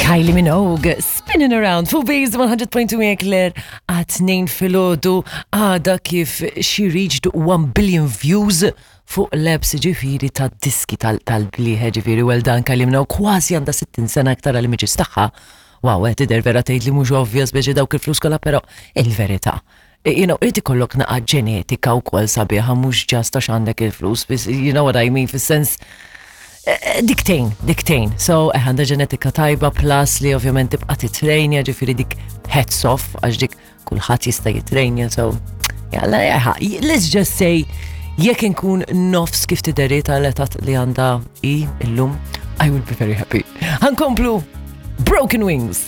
Kylie Minogue, Spinning Around, fuq Base 100.2 miegħek Claire, għat-tnejn filgħodu għada kif she reached 1 billion views fuq l-apps ġifiri ta' diski tal-bliħe ġifiri well done Kylie Minogue kważi għandha 60 sena aktar għal images tagħha. Wow, qed tidher vera tgħid li mhux obvious biex dawk il-flus kollha però il-verità. You know, irid ikollok naqa' ġenetika wkoll sabiħa mhux ġast għax għandek il-flus, you know what I mean, fis-sens eh, eh, diktejn, diktejn. So, eh, għandha ġenetika tajba plus li ovvjament tibqa' titrejnja, ġifieri dik hats off għax dik kulħadd jista' jitrejnja, so jalla jaħa. Let's just say jekk inkun nofs kif tideri tal-etat li għandha i illum, I will be very happy. Ħankomplu Broken Wings.